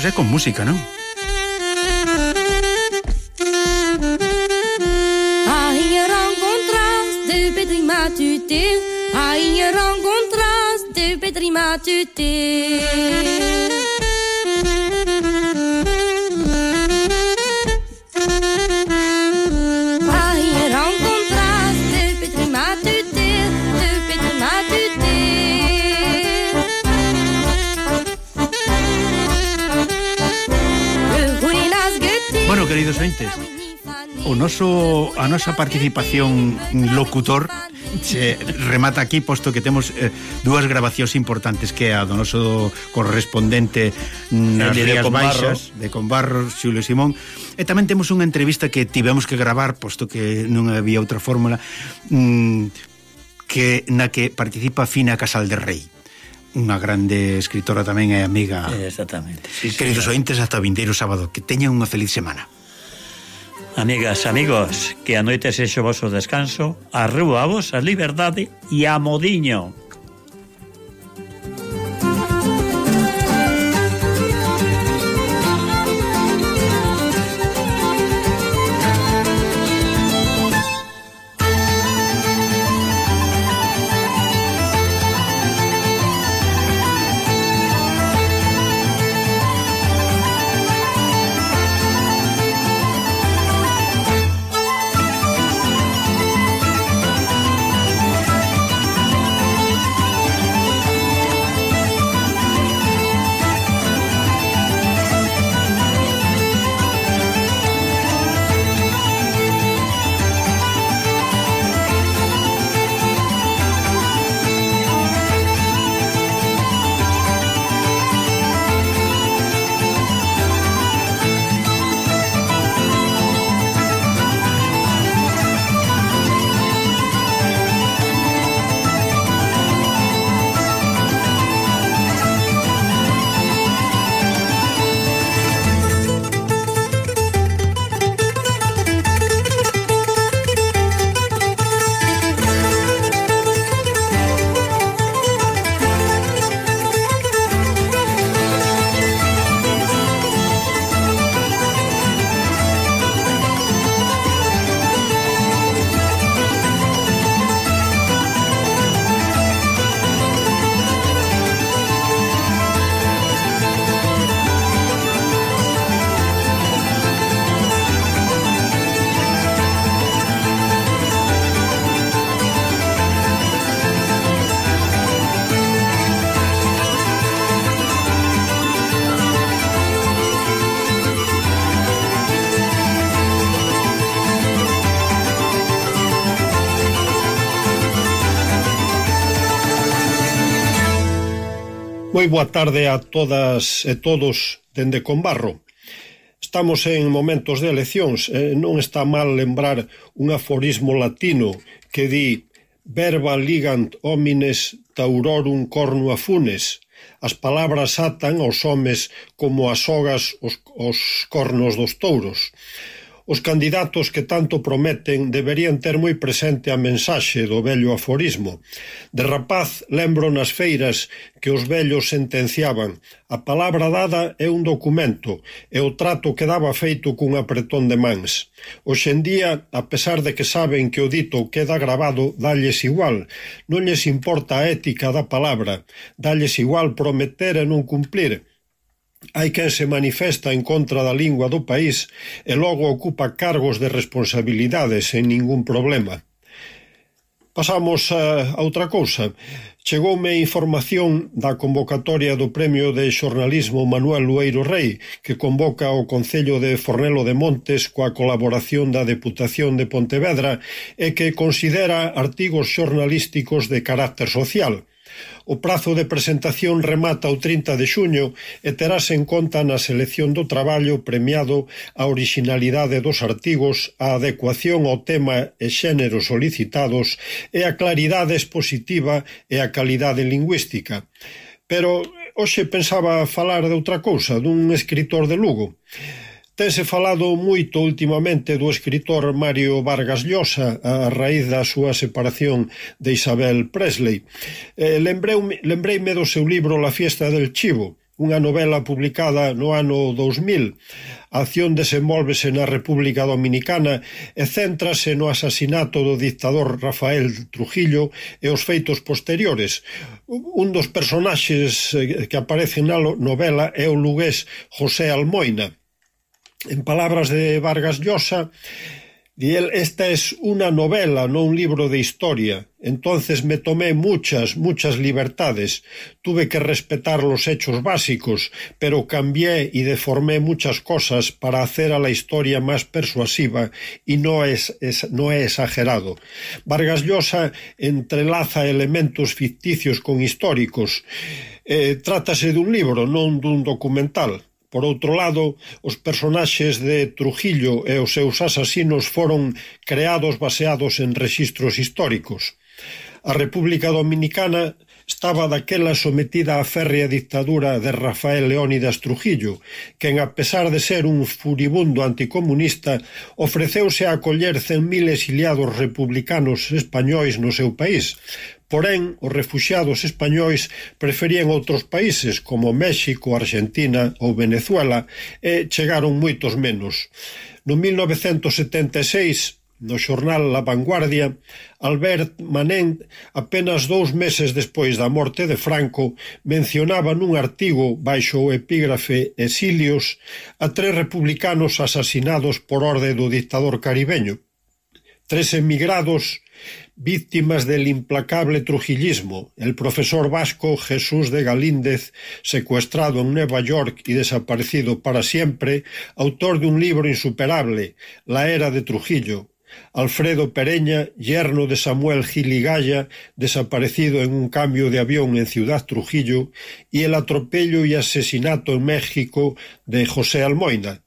é con música, non? Hier rencontras de Petri Matute. Hier rencontras de Petri Matute. Hier rencontras de Petri Matute. De Petri Matute. Bueno, queridos ointes, a nosa participación locutor se remata aquí, posto que temos dúas grabacións importantes, que é a do noso correspondente nas Rías Baixas de Conbarro, Xulio Simón, e tamén temos unha entrevista que tivemos que gravar, posto que non había outra fórmula, na que participa Fina Casal de Rei, unha grande escritora tamén e amiga. Exactamente, sí, queridos ointes, hasta o vindeiro sábado, que teñan unha feliz semana. Amigas, amigos, que a noite sexo vosso descanso, arreo a vos a liberdade e a modiño. Moi boa tarde a todas e todos dende Conbarro. Estamos en momentos de eleccións e non está mal lembrar un aforismo latino que di verba ligant homines taurorum cornua funes. As palabras atan aos homes como as sogas os cornos dos touros. Os candidatos que tanto prometen deberían ter moi presente a mensaxe do vello aforismo. De rapaz lembro nas feiras que os vellos sentenciaban: a palabra dada é un documento e o trato quedaba feito cun apretón de mans. Hoxe en día, a pesar de que saben que o dito queda gravado, dalles igual. Non lles importa a ética da palabra, dalles igual prometer e non cumplir. Hai quen se manifesta en contra da lingua do país e logo ocupa cargos de responsabilidade sen ningún problema. Pasamos a outra cousa. Chegoume información da convocatoria do Premio de Xornalismo Manuel Lueiro Rei, que convoca o Concello de Fornelo de Montes coa colaboración da Deputación de Pontevedra e que considera artigos xornalísticos de carácter social. O prazo de presentación remata o 30 de xuño e terase en conta na selección do traballo premiado a orixinalidade dos artigos, a adecuación ao tema e xénero solicitados e a claridade expositiva e a calidade lingüística. Pero hoxe pensaba falar de outra cousa, dun escritor de Lugo. Tense falado moito últimamente do escritor Mario Vargas Llosa a raíz da súa separación de Isabel Presley. Lembreime do seu libro La fiesta del chivo, unha novela publicada no ano 2000. A acción desenvólvese na República Dominicana e céntrase no asasinato do dictador Rafael Trujillo e os feitos posteriores. Un dos personaxes que aparecen na novela é o lugués José Almoina. En palabras de Vargas Llosa, esta es una novela, no un libro de historia. Entonces me tomé muchas libertades. Tuve que respetar los hechos básicos, pero cambié y deformé muchas cosas para hacer a la historia más persuasiva y no he exagerado. Vargas Llosa entrelaza elementos ficticios con históricos. Trátase dun libro, non dun documental. Por outro lado, os personaxes de Trujillo e os seus asasinos foron creados baseados en rexistros históricos. A República Dominicana estaba daquela sometida á férrea dictadura de Rafael Leónidas Trujillo, quen, a pesar de ser un furibundo anticomunista, ofreceuse a acoller 100.000 exiliados republicanos españois no seu país. Porén, os refuxiados españois preferían outros países como México, Argentina ou Venezuela e chegaron moitos menos. No 1976, no xornal La Vanguardia, Albert Manent, apenas 2 meses despois da morte de Franco, mencionaba nun artigo baixo o epígrafe Exilios a 3 republicanos asasinados por orde do dictador caribeño. 3 emigrados víctimas del implacable trujillismo, el profesor vasco Jesús de Galíndez, secuestrado en Nueva York y desaparecido para siempre, autor de un libro insuperable, La era de Trujillo; Alfredo Pereña, yerno de Samuel Gil y Gaya, desaparecido en un cambio de avión en Ciudad Trujillo; y el atropello y asesinato en México de José Almoina.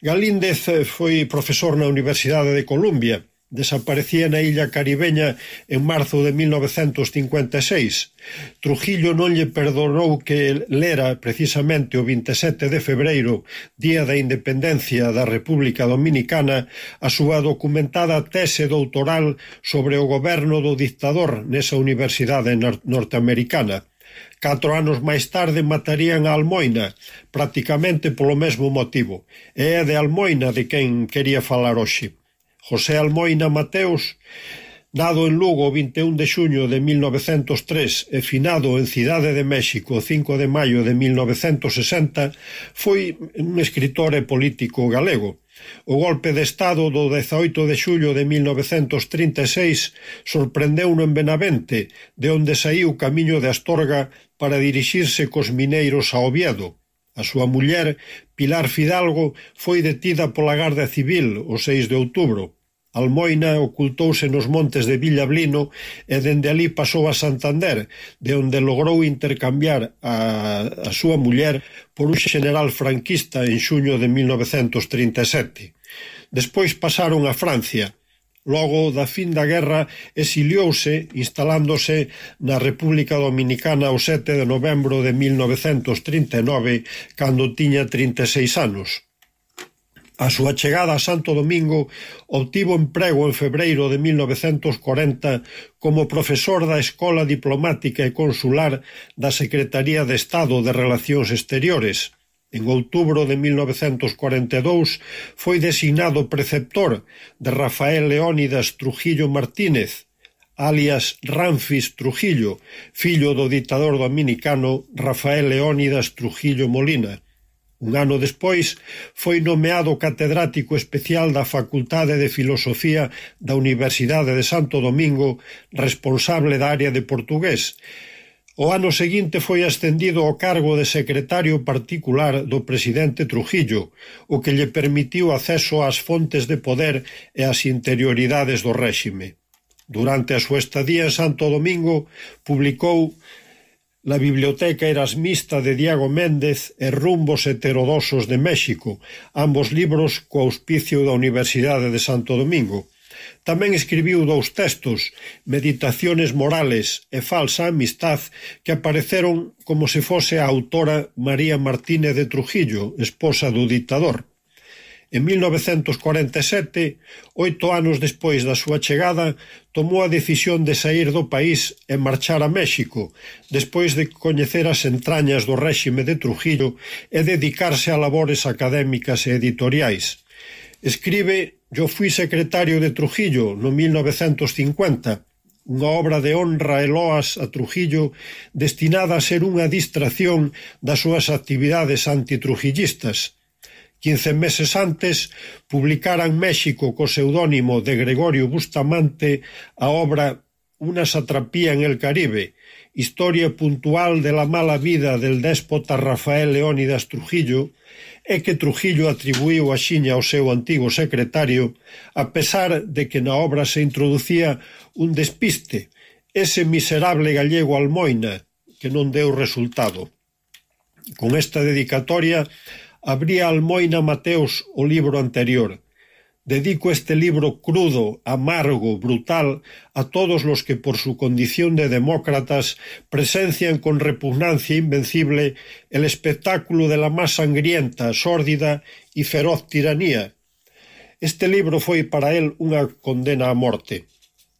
Galíndez foi profesor na Universidade de Columbia. Desaparecía na illa caribeña en marzo de 1956. Trujillo non lle perdonou que lera precisamente o 27 de febreiro, día da independencia da República Dominicana, a súa documentada tese doutoral sobre o goberno do dictador nesa universidade norteamericana. 4 anos máis tarde matarían a Almoina, prácticamente polo mesmo motivo. E é de Almoina de quen quería falar hoxe. José Almoina Mateos, nado en Lugo o 21 de xuño de 1903 e finado en Cidade de México o 5 de maio de 1960, foi un escritor e político galego. O golpe de Estado do 18 de xullo de 1936 sorprendeu-no en Benavente, de onde saíu camiño de Astorga para dirixirse cos mineiros a Oviedo. A súa muller, Pilar Fidalgo, foi detida pola Garda Civil o 6 de outubro. Almoina ocultouse nos montes de Villablino e dende ali pasou a Santander, de onde logrou intercambiar a súa muller por un general franquista en xuño de 1937. Despois pasaron a Francia. Logo da fin da guerra exiliouse, instalándose na República Dominicana o 7 de novembro de 1939, cando tiña 36 anos. A súa chegada a Santo Domingo obtivo emprego en febreiro de 1940 como profesor da Escola Diplomática e Consular da Secretaría de Estado de Relacións Exteriores. En outubro de 1942 foi designado preceptor de Rafael Leónidas Trujillo Martínez, alias Ramfis Trujillo, fillo do dictador dominicano Rafael Leónidas Trujillo Molina. Un ano despois foi nomeado catedrático especial da Facultade de Filosofía da Universidade de Santo Domingo, responsable da área de portugués. O ano seguinte foi ascendido ao cargo de secretario particular do presidente Trujillo, o que lle permitiu acceso ás fontes de poder e ás interioridades do réxime. Durante a súa estadía en Santo Domingo, publicou La Biblioteca Erasmista de Diego Méndez e Rumbos Heterodosos de México, ambos libros co auspicio da Universidade de Santo Domingo. Tamén escribiu 2 textos, Meditaciones morales e Falsa amistad, que apareceron como se fose a autora María Martínez de Trujillo, esposa do dictador. En 1947, 8 anos despois da súa chegada, tomou a decisión de sair do país e marchar a México, despois de coñecer as entrañas do réxime de Trujillo e dedicarse a labores académicas e editoriais. Escribe «Yo fui secretario de Trujillo» no 1950, unha obra de honra e loas a Trujillo destinada a ser unha distracción das súas actividades antitrujillistas. 15 meses antes, publicara en México co pseudónimo de Gregorio Bustamante a obra Una satrapía en el Caribe, historia puntual de la mala vida del déspota Rafael Leónidas Trujillo, e que Trujillo atribuíu axiña ao seu antigo secretario, a pesar de que na obra se introducía un despiste, ese miserable gallego Almoina, que non deu resultado. Con esta dedicatoria, abría Almoina Mateos o libro anterior. Dedico este libro crudo, amargo, brutal a todos los que por su condición de demócratas presencian con repugnancia invencible el espectáculo de la más sangrienta, sórdida y feroz tiranía. Este libro foi para él unha condena a morte.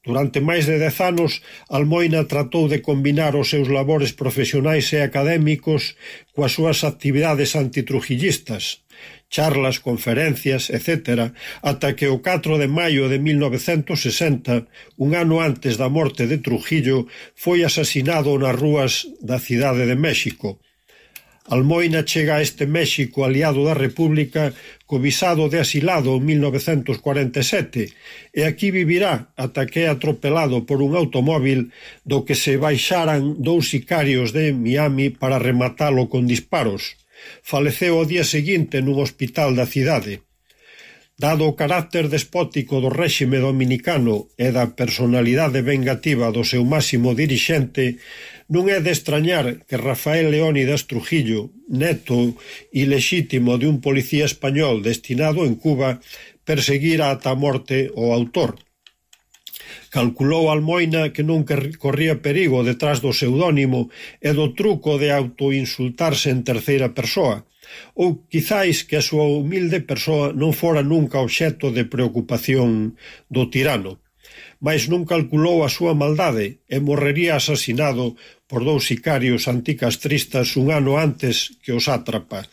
Durante máis de 10 anos, Almoina tratou de combinar os seus labores profesionais e académicos coas súas actividades antitrujillistas, charlas, conferencias, etc., ata que o 4 de maio de 1960, un ano antes da morte de Trujillo, foi asasinado nas rúas da cidade de México. Almoina chega a este México aliado da República co visado de asilado en 1947 e aquí vivirá ata que é atropelado por un automóvil do que se baixaran 2 sicarios de Miami para rematalo con disparos. Faleceu o día seguinte nun hospital da cidade. Dado o carácter despótico do réxime dominicano e da personalidade vengativa do seu máximo dirixente, non é de extrañar que Rafael Leónidas Trujillo, neto ilexítimo de un policía español destinado en Cuba, perseguira ata a morte o autor. Calculou Almoina que non corría perigo detrás do pseudónimo e do truco de autoinsultarse en terceira persoa, ou quizáis que a súa humilde persoa non fora nunca obxecto de preocupación do tirano, mas non calculou a súa maldade e morrería asasinado por 2 sicarios anticastristas un ano antes que o sátrapa.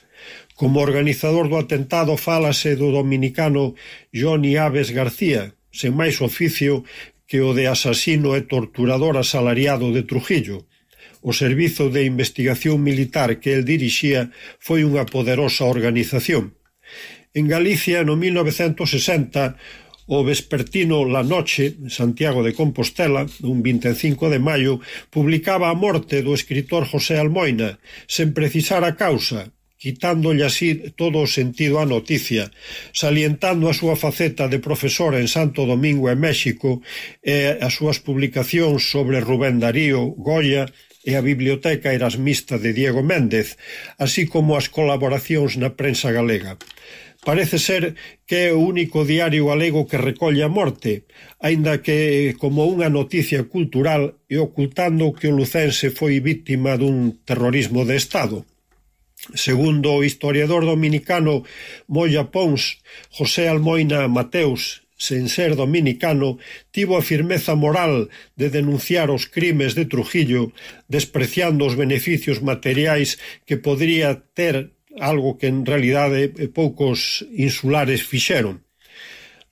Como organizador do atentado fálase do dominicano Johnny Aves García, sen máis oficio que o de asasino e torturador asalariado de Trujillo. O Servizo de Investigación Militar que el dirixía foi unha poderosa organización. En Galicia, no 1960, o vespertino La Noche, Santiago de Compostela, un 25 de maio, publicaba a morte do escritor José Almoina, sen precisar a causa, quitándolle así todo o sentido á noticia, salientando a súa faceta de profesor en Santo Domingo e México e as súas publicacións sobre Rubén Darío, Goya e a Biblioteca Erasmista de Diego Méndez, así como as colaboracións na prensa galega. Parece ser que é o único diario galego que recolle a morte, aínda que como unha noticia cultural e ocultando que o lucense foi víctima dun terrorismo de Estado. Segundo o historiador dominicano Moya Pons, José Almoina Mateus, sen ser dominicano, tivo a firmeza moral de denunciar os crimes de Trujillo, despreciando os beneficios materiais que podría ter, algo que en realidade poucos insulares fixeron.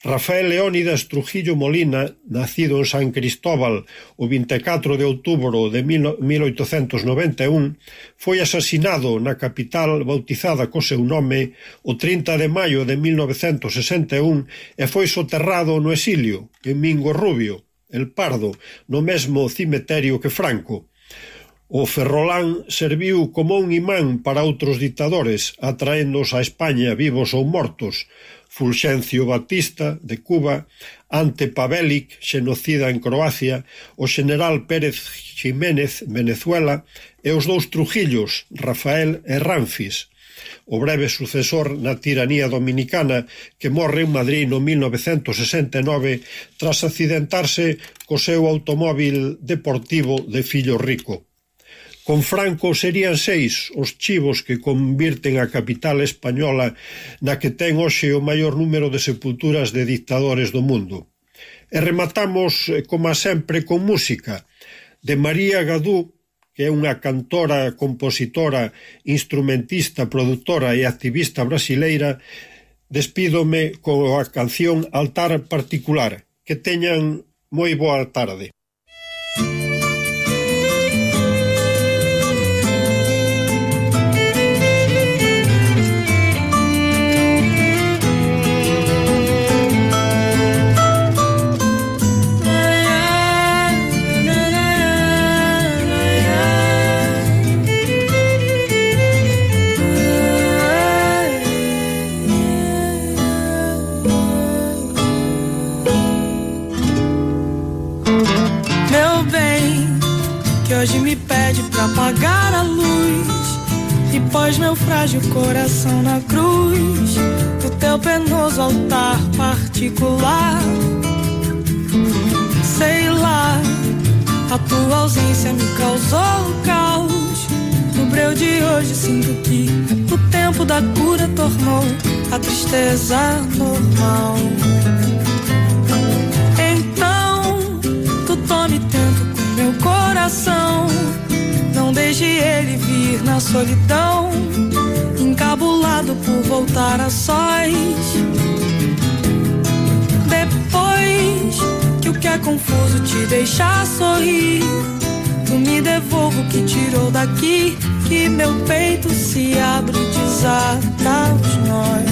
Rafael Leónidas Trujillo Molina, nacido en San Cristóbal o 24 de outubro de 1891, foi asasinado na capital bautizada co seu nome o 30 de maio de 1961 e foi soterrado no exilio, en Mingo Rubio, El Pardo, no mesmo cemiterio que Franco. O ferrolán serviu como un imán para outros ditadores, atraéndoos a España vivos ou mortos. Fulgencio Batista, de Cuba, Ante Pavelic, xenocida en Croacia, o xeneral Pérez Jiménez, Venezuela, e os 2 Trujillos, Rafael e Ramfis, o breve sucesor na tiranía dominicana que morre en Madrid no 1969 tras accidentarse co seu automóvil deportivo de fillo rico. Con Franco serían 6 os chivos que convirten a capital española na que ten hoxe o maior número de sepulturas de dictadores do mundo. E rematamos, como sempre, con música de María Gadú, que é unha cantora, compositora, instrumentista, produtora e activista brasileira. Despídome coa canción Altar Particular. Que teñan moi boa tarde. Hoje me pede pra apagar a luz e pôs meu frágil coração na cruz do teu penoso altar particular. Sei lá, a tua ausência me causou caos. No breu de hoje sinto que o tempo da cura tornou a tristeza normal. Então, tu tome tento com meu coração, não deixe ele vir na solidão, encabulado por voltar a sós. Depois que o que é confuso te deixar sorrir, tu me devolva o que tirou daqui, que meu peito se abre e desata os nós.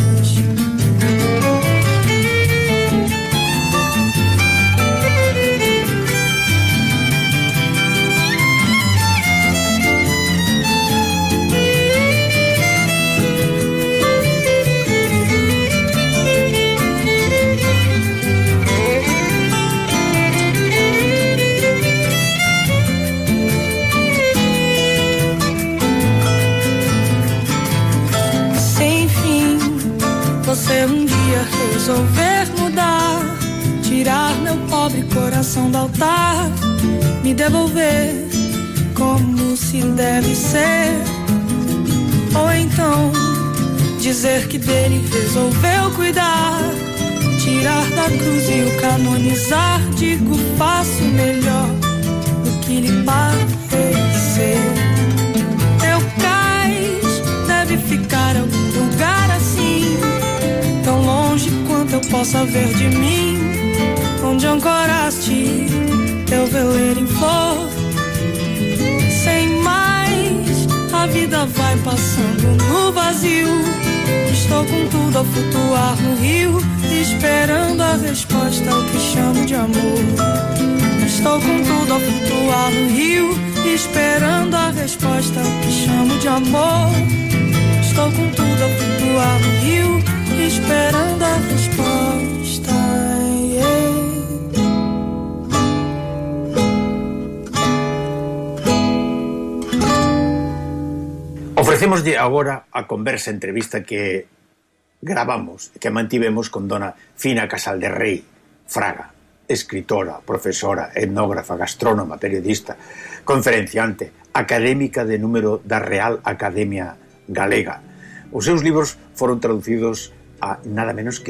Você um dia resolver mudar, tirar meu pobre coração do altar, me devolver como se deve ser. Ou então dizer que dele resolveu cuidar, tirar da cruz e o canonizar. Digo, faço melhor do que lhe parecer. Teu cais deve ficar em algum lugar assim, tão longe quanto eu possa ver de mim, onde ancoraste teu veleiro em flor. Sem mais, a vida vai passando no vazio. Estou com tudo a flutuar no rio, esperando a resposta ao que chamo de amor. Estou com tudo a flutuar no rio, esperando a resposta ao que chamo de amor. Estou com tudo a flutuar no rio, esperando a resposta. Ofrecémoslle agora a conversa entrevista que gravamos, que mantivemos con dona Fina Casal de Rei Fraga, escritora, profesora, etnógrafa, gastrónoma, periodista, conferenciante, académica de número da Real Academia Galega. Os seus libros foron traducidos a nada menos que